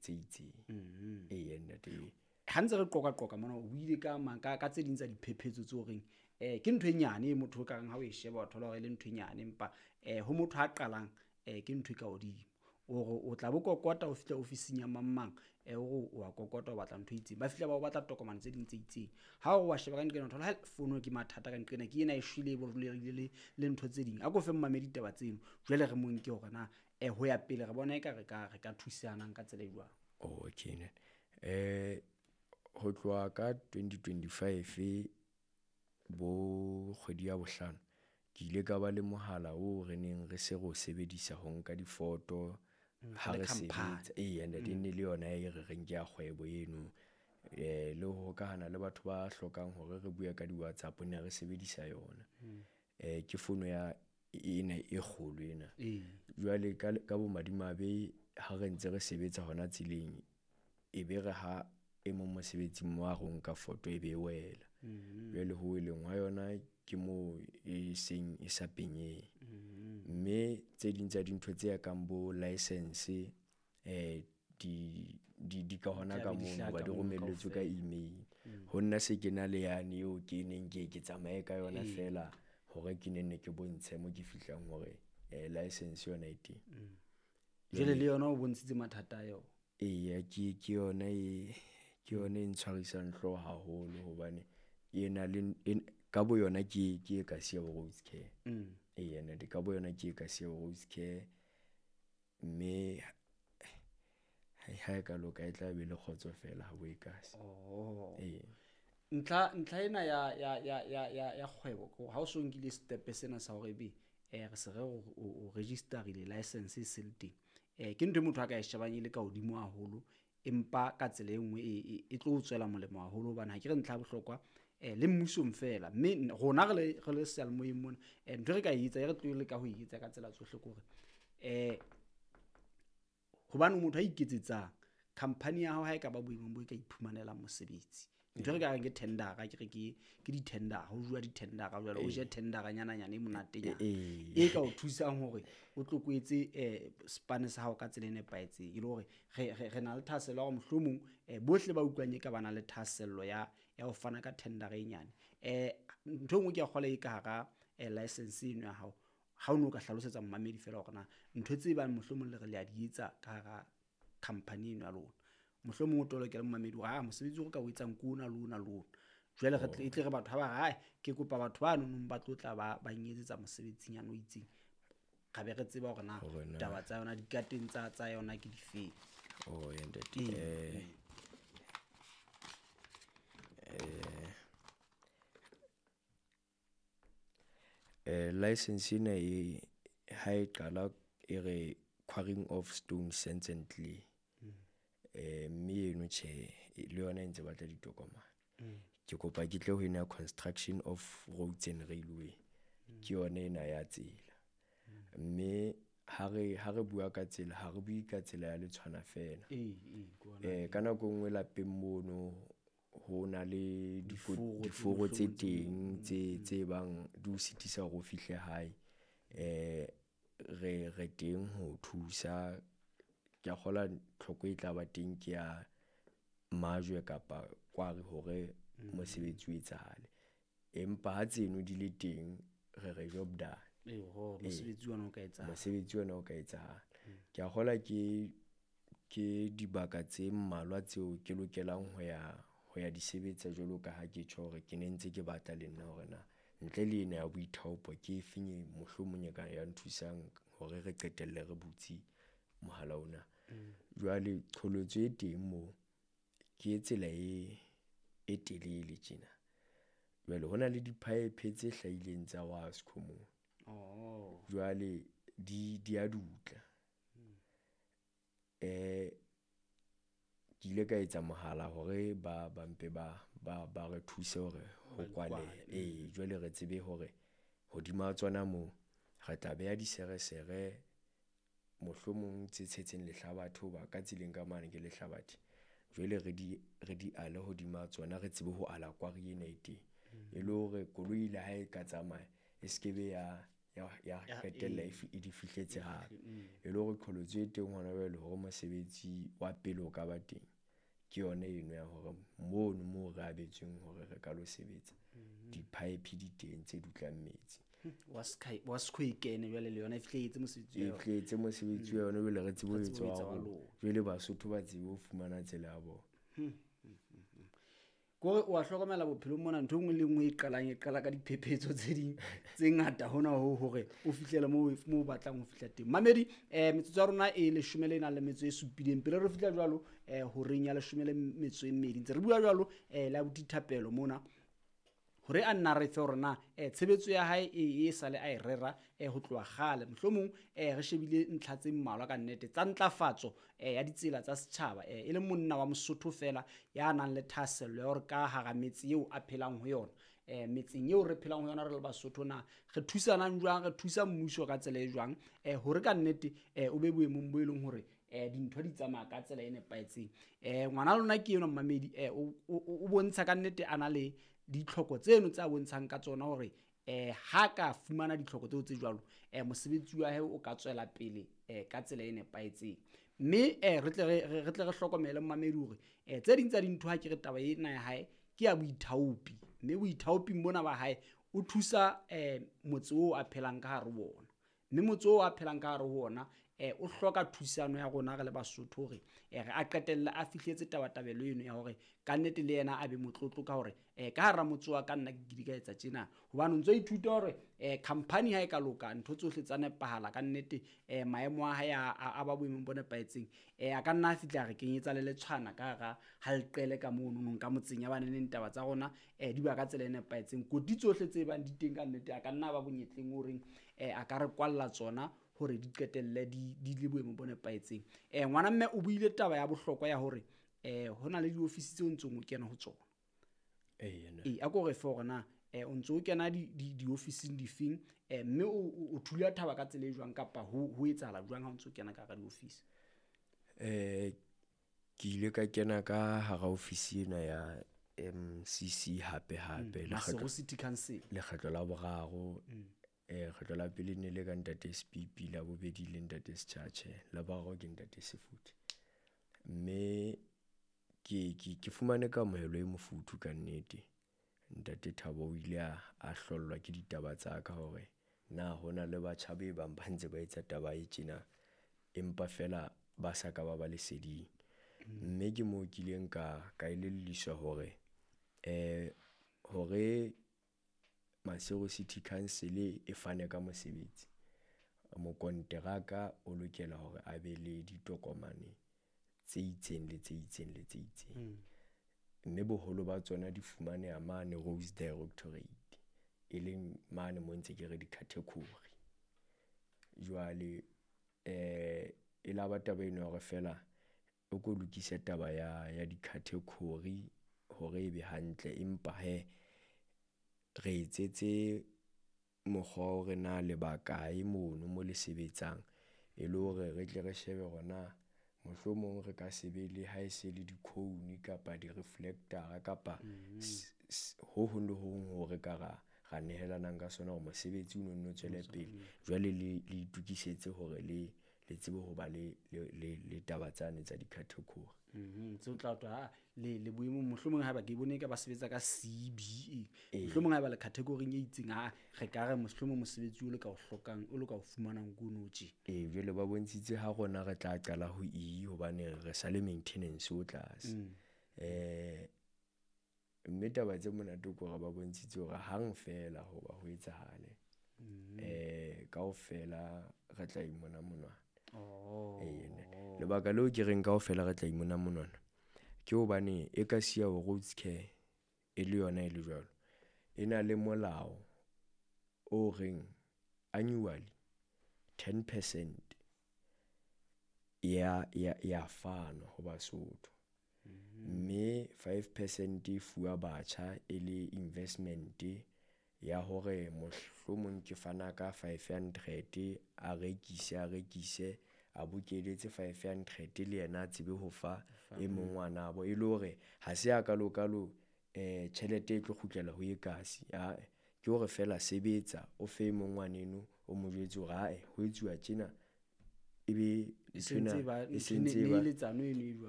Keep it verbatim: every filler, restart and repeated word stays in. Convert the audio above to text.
tse itseng. Eya ntate. Ha ntse re qoqa qoqa mona o buile ka ka ka tse ding tsa diphephetso tse horeng eh ke ntho e nyane e motho o ka reng ha o e sheba o thola hore e le ntho e nyane, empa eh ho motho a qalang eh ke ntho e ka hodimo. O o tla bo kokota o fihla ofising ya mang mang eh o o a kokota o batla ntho e itseng, ba fihla ba o batla tokomane tse ding tse itseng. Ha o wa sheba ka nqena o thola ha fono ke mathata ka nqena ke ena e shwele e boreile le le ntho tse ding. A ko fe mmamedi taba tseno jwale re mo nke hore na eh ho ya pele re bona eka re ka re ka thusanang ka tsela e jwang. Okay ne eh ho tloha ka twenty twenty-five bo kgwedi ya bohlano ke ile ka ba le mohala oo re neng re se re o sebedisa ho nka difoto ha re sebetsa. Eya ntate, ne le yona e re reng ke ya kgwebo eno. Eh le ho hokahana le batho ba hlokang hore re bue ka di-WhatsApp ne re sebedisa yona. Eh ke fono ya ena e kgolo ena. Jwale ka ka bomadimabe ha re ntse re sebetsa hona tseleng, e be re ha e mong mosebetsing wa ro nka foto e be e wela. Jwale ho weleng hwa yona ke moo e seng e sa penyeng. Mme tse ding tsa dintho tse kang bo license eh di di di ka hona ka moo ba di romelletswe ka email. Ho nna se ke na le yane eo ke neng ke ke tsamaye ka yona feela hore ke nenne ke bontshe mo ke fihlang hore eh license yona e teng. Jwale le yona o bontshitse mathata a yona. Eya, ke ke yona e ke yona e ntshwarisang hlooho haholo hobane e na le ka bo yona ke ke e ka siya bo Roads Care. Eya ntate, ka bo yona ke e ka siya bo Roads Care, mme ha e ka loka e tla be le kgotso fela ha bo e kasi. Oh. Ee. Ntlha ntlha ena ya ya ya ya ya ya kgwebo ko ha o so nkile step sena sa hore ebe eh re se re o registerile license e se le teng. Eh ke ntho e motho a ka e shebang e le ka hodimo haholo, empa ka tsela e nngwe e e tlo tswela molemo haholo hobane ha ke re ntlha ya bohlokwa eh le mmusong fela, mme rona re le re le seyalemoyeng mona eh ntho re ka e etsa e re tlo leka ho e etsa ka tsela tsohle ke hore eh hobane motho a iketsetsang company ya hao ha e ka ba boemong bo e ka iphumanelang mosebetsi. Ntho re ka reng ke tendera, ke re ke ke di-tender, ho jwa di-tendera jwale o je tendera nyana nyana e monatenyana e ka o thusang hore o tlo kwetse eh spane sa hao ka tsela e nepahetseng, e le hore re re na le thahasello ya hore mohlomong eh bohle ba utlwang e ka ba na le thahasello ya ya ho fana ka tendera e nyane. Eh ntho e nngwe ke a kgola e ka hara license eno ya hao, ha o no ka hlalosetsa mmamedi fela hore na ntho tse bang mohlomong le re le a di etsa ka hara company eno ya lona, mohlomong o tolokele mmamedi hore ah mosebetsi o re ka o etsang ke ona le ona le ona. Jwale re tle re batho ha ba re ke kopa batho ba nonong ba tlo tla ba ba nyetsetsa mosebetsing yana o itseng, ra be re tseba hore na taba tsa yona dikateng tsa tsa yona ke difeng. Oh ya ntate, eh eh eh license ena e ha e qala e re quarrying of stone, sands and clay. Eh mme eno tjhe le yona e ntse batla ditokomane. Ke kopa ke tle ho ena construction of roads and railway, ke yona ena ya tsela. Mme ha re ha re bua ka tsela ha re bue ka tsela ya letshwana fela. Eh ka nako nngwe lapeng mono ho na le diforo tse teng tse tse bang di o sitisa hore o fihle hae. Eh re re teng ho thusa. Ke a kgola tlhoko e tla ba teng ke ya majwe kapa kware hore mosebetsi o etsahale, empa ha tseno di le teng re re job done. Eho, mosebetsi ona o ka etsahala, mosebetsi ona o ka etsahala. Ke a kgola ke ke dibaka tse mmalwa tseo ke lokelang ho ya ho ya di sebetsa jwalo ka ha ke tjho hore ke ne ntse ke batla le nna hore na ntle le ena ya boithaopo ke efeng e mohlomong e ka ya nthusang hore re qetelle re butse mohala ona. Jwale qholotso e teng moo ke tsela e e telele tjena. Jwale hona le di-pipe tse hlahileng tsa Wasco moo. Oh. Jwale di di a dutla. Eh ke ile ka etsa mohala hore ba ba mpe ba ba ba re thuse hore ho kwale. Eh jwale re tsebe hore hodima tsona moo re tla beha diseresere mohlomong tse tshetseng lehlabathe, hoba ka tseleng ka mane ke lehlabathe. Jwale re di re di ale hodima tsona, re tsebe ho ala kwari ena e teng, e le hore koloi le ha e ka tsamaya e se ke be ya ya ya qetella e di fihletse hape. E le hore qholotso e teng hona jwale hore mosebetsi wa pele o ka ba teng ke yona eno ya hore mono moo re abetsweng hore re ka lo sebetsa di-pipe di teng tse dutlang metsi. Wa sky wa skhwe kene jwale le yona e fihletse mosebetsi e fihletse mosebetsi wa yona jwale re tsebe ho etsa wa rona. Jwale Basotho ba tsebe ho fumana tsela ya bona. Kore wa hlokomela bophelong mona ntho nngwe le nngwe e qalang e qala ka diphephetso tse ding tse ngata hona ho hore o fihlele moo moo batlang ho fihla teng. Mamedi eh metsotso ya rona e leshome le nang le metso e supileng pele re fihla jwalo eh horeng ya leshome le metso e mmedi ntse re bua jwalo eh la bothapelo mona hore a nna re fe hore na eh tshebetso ya hae e e sale a e rera eh ho tloha kgale mohlomong eh re shebile ntlha tse mmalwa ka nnete tsa ntlafatso eh ya ditsela tsa setjhaba eh e le monna wa Mosotho fela ya nang le thahasello ya hore ka hara metse eo a phelang ho yona eh metseng eo re phelang ho yona re le Basotho na re thusanang jwang re thusa mmuso ka tsela e jwang eh hore ka nnete eh o be boemong bo e leng hore eh dintho di tsamaya ka tsela e nepahetseng. Eh ngwana lona ke yena mmamedi eh o bontsha ka nnete a na le ditlhoko tseno tsa bontshang ka tsona hore eh ha ka fumana ditlhoko tseo tse jwalo eh mosebetsi wa hae o ka tswela pele eh ka tsela e nepahetseng. Mme eh re tle re re tle re hlokomele mmamedi hore eh tse ding tsa dintho ha ke re taba ena ya hae ke ya boithaopi mme boithaoping bona ba hae o thusa eh motse oo a phelang ka hare ho ona mme motse oo a phelang ka hare ho ona eh o hloka thusano ya rona re le Basotho hore eh re a qetelle a fihletse tabatabelo eno ya hore ka nnete le yena a be motlotlo ka hore eh ka hara motse wa ka nna ke di ka etsa tjena hobane o ntso ithuta hore eh company ha e ka loka ntho tsohle tsa nepahala ka nnete eh maemo a hae a ba boemong bo nepahetseng eh a ka nna a fihla re kenyetsa le letshwana ka hara halqele ka mono nong ka motseng ya baneneng taba tsa rona eh di ba ka tsela e nepahetseng koti tsohle tse bang di teng ka nnete a ka nna ba bonyetleng o reng eh a ka re kwalla tsona hore di qetelle di di le boemong bo nepahetseng. Eh ngwana mme o buile taba ya bohlokwa ya hore eh hona le diofisi tseo ntsong o kena ho tsona. Eh yena. Eh a ko re fe hore na eh o ntso o kena di diofising difeng eh mme o o thula thaba ka tsela e jwang kapa ho ho etsahala jwang ha o ntso kena ka hara diofisi. Eh ke ile ka kena ka hara ofisi ena ya M C C hape hape le Maseru City Council lekgetlo la boraro. Eh kgetlo la pele ne le ka ntate S P P la bobedi le ntate Schache la boraro ke ntate Sefuthi mme ke ke ke fumane kamohelo e mofuthu ka nnete. Ntate Thabo o ile a hlollwa ke ditaba tsa ka hore na hona le batjha be bang ba ntse ba etsa taba e tjena empa fela ba sa ka ba ba leseding. Mme ke moo ke ileng ka ka elelliswa hore eh hore Maseru City Council e fane ka mosebetsi mokonteraka o lokela hore a be le ditokomane tse itseng le tse itseng le tse itseng mme boholo ba tsona di fumaneha mane Roads Directorate e leng mane mo ntse ke re di-category. Jwale eh e la ba taba eno hore fela o ko lokise taba ya ya di-category hore e be hantle empa he re etsetse mokgwa hore na le bakae mono mo le sebetsang e le hore re tle re shebe hore mohlomong re ka se be le ha e se le di-cone kapa di-reflector kapa ho hong le ho hong hore ka ra ra nehelanang ka sona hore mosebetsi o no tswele pele. Jwale le le itukisetse hore le le tsebe ho ba le le le taba tsane tsa di-category. Mhm tseo tla twa le le boemong mohlomong ha ba ke bone ka ba sebetsa ka C B E mohlomong ha ba le category e itseng ha re ka re mohlomong mosebetsi o le ka o hlokang o le ka o fumanang kono tje. Eh jwale ba bontshitse ha rona re tla qala ho E hobane re sa le maintenance o tlase. Eh mme taba tse monate ke hore ba bontshitse hore hang fela hoba ho etsahale eh kaofela re tla imona monwana. Oh. Eh lebaka leo ke reng kaofela re tla imona monwana ke hobane e ka siya ho Roads Care e le yona e le jwalo e na le molao o reng annually ten percent ya ya ya fanwa ho Basotho mme five percent e fuwa batjha e le investment ya hore mohlomong ke fana ka five hundred a rekise a rekise a bokeletse five hundred le yena a tsebe ho fa e mong ngwanabo e le hore ha se a kalo kalo eh tjhelete e tlo kgutlela ho e kasi a ke hore fela sebetsa o fe mong ngwaneno O mo jwetse hore ae ho etsuwa tjena, ebe E sentse e ba e sentse e ba neheletsano eno e jwalo.